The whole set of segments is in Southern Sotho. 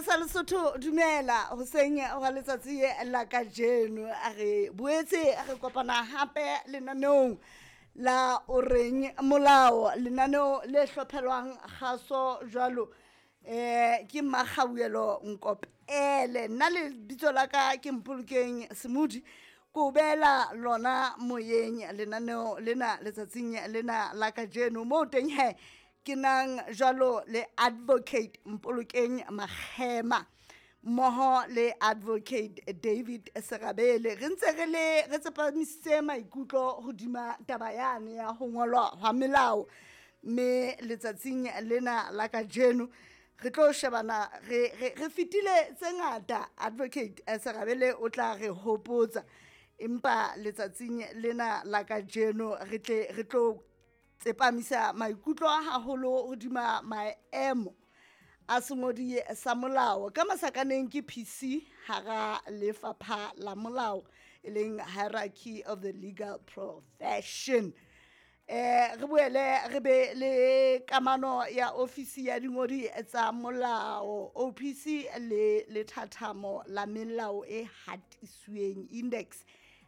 Seyalemoya sa Lesotho, dumela hoseng wa letsatsi la kajeno. A re boetse re kopana hape lenaneong la o reng molao, lenaneo le hlophelwang kgaso jwalo ke Mmakgauhelo Nkopele. Nna lebitso la ka ke Mpolokeng Semodi, ko beela lona moyeng lenaneo lena letsatsing lena la kajeno. Moo teng he ke nang jwalo le Advocate Mpolokeng Makgema mmoho le Advocate David Serabele. Re ntse re le re tsepamisitse maikutlo hodima taba yane ya ho ngolwa hwa melao, mme letsatsing lena la kajeno re tlo shebana re fetile tse ngata. Advocate Serabele o tla re hopotsa, empa letsatsing lena la kajeno re tle re tlo tsepamisa maikutlo haholo hodima maemo a sengodi sa molao ka masakaneng ke PC hara lefapha la molao, e leng hierarchy of the legal profession. Re boele re be le kamano ya ofisi ya dingodi tsa molao OPC le lethathamo la melao e hatisweng index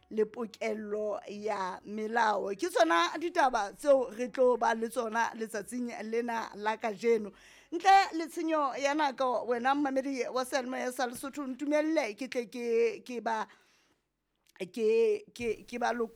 le pokello ya melao. Ke tsona ditaba tseo re tlo ba le tsona letsatsing lena la kajeno. Ntle le tshenyo ya nako, wena mmamedi wa seyalemoya sa Lesotho, ntumelle ke tle ke ba ke ba.